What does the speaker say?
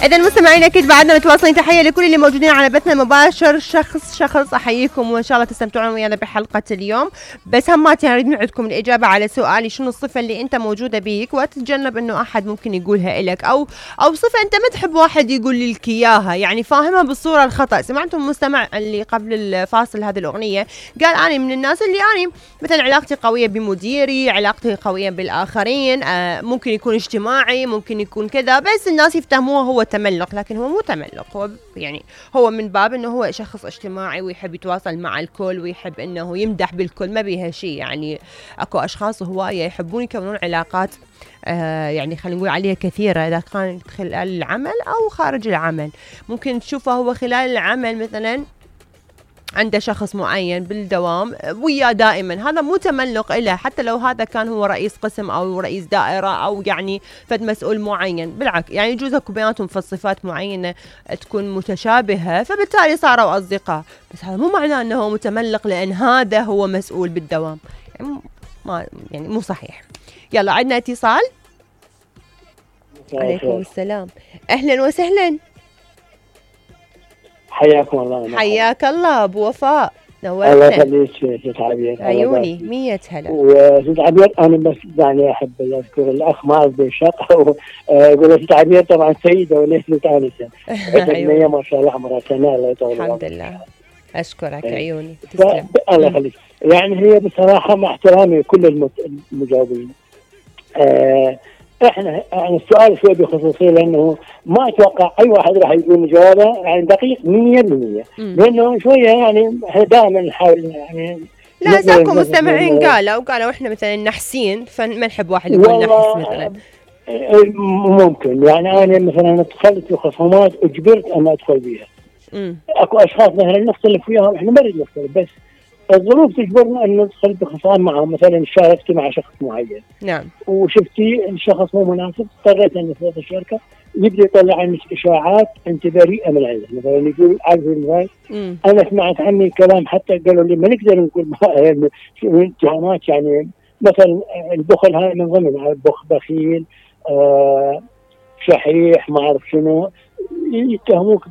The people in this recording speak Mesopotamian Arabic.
اذا مستمعين اكيد بعدنا متواصلين. تحيه لكل اللي موجودين على بثنا المباشر شخص احييكم، وان شاء الله تستمتعون ويانا بحلقه اليوم. بس همات يعني اريد من عندكم الاجابه على سؤالي، شنو الصفه اللي انت موجوده بيك وتتجنب انه احد ممكن يقولها لك، او صفه انت ما تحب واحد يقول لك اياها، يعني فاهمها بالصوره الخطا. سمعتم المستمع اللي قبل الفاصل هذه الاغنيه قال انا من الناس اللي انا مثلا علاقتي قويه بمديري، علاقتي قويه بالاخرين، ممكن يكون اجتماعي، ممكن يكون كذا، بس الناس يفتهموه هو تملق، لكن هو مو تملق. هو يعني هو من باب انه هو شخص اجتماعي ويحب يتواصل مع الكل ويحب انه يمدح بالكل، ما بيها شيء. يعني اكو اشخاص هوايه يحبون يكونون علاقات يعني خلينا نقول عليها كثيره، اذا كانت خلال العمل او خارج العمل. ممكن تشوفه هو خلال العمل مثلا عنده شخص معين بالدوام وياه دائما، هذا مو تملق له، حتى لو هذا كان هو رئيس قسم او رئيس دائره او يعني فد مسؤول معين. بالعكس يعني يجوز اكو بيناتهم في صفات معينه تكون متشابهه، فبالتالي صاروا اصدقاء، بس هذا مو معناه انه هو متملق لان هذا هو مسؤول بالدوام. يعني مو صحيح. يلا عندنا اتصال. عليكم السلام، اهلا وسهلا. حياكم الله. حياك الله ابو وفاء، نورتنا. الله يخليك ست عبير. عيوني 100 هلا. وست عبير انا بس يعني احب اذكر الاخ معاذ بن شق يقول ست عبير طبعا سيده وليست انسه. عيوني ما شاء الله عمرها سنه. الله يطول الحمد لله. اشكرك عيوني. تسلم. الله يخليك. يعني هي بصراحه مع احترامي كل المجاوبين، احنا يعني السؤال شوي بخصوصيه، لانه ما اتوقع اي واحد راح يقول جوابه يعني دقيق 100%، لانه شويه يعني احنا دائما نحاول يعني لا ساكم مستمعين قالوا احنا مثلا نحسين فما نحب واحد يقول نحس مثلا. ممكن يعني انا مثلا دخلت في خصومات اجبرت ان ادخل بيها. اكو اشخاص مثلا نختلف وياهم، احنا ما نريد نختلف، بس الظروف تجبرنا ان ندخل بخصام معهم. مثلا شاركتي مع شخص معين، نعم، وشفتي الشخص مو مناسب، اضطريت ان افرض الشركه يبدا يطلع عنك اشاعات انت بريئه من عنده. مثلا يقول عارف المثال، انا سمعت عني كلام حتى قالوا لي ما نقدر نقول اتهامات، يعني مثلا البخل هاي من ضمن بخيل، شحيح، ما اعرف شنو، يتهموك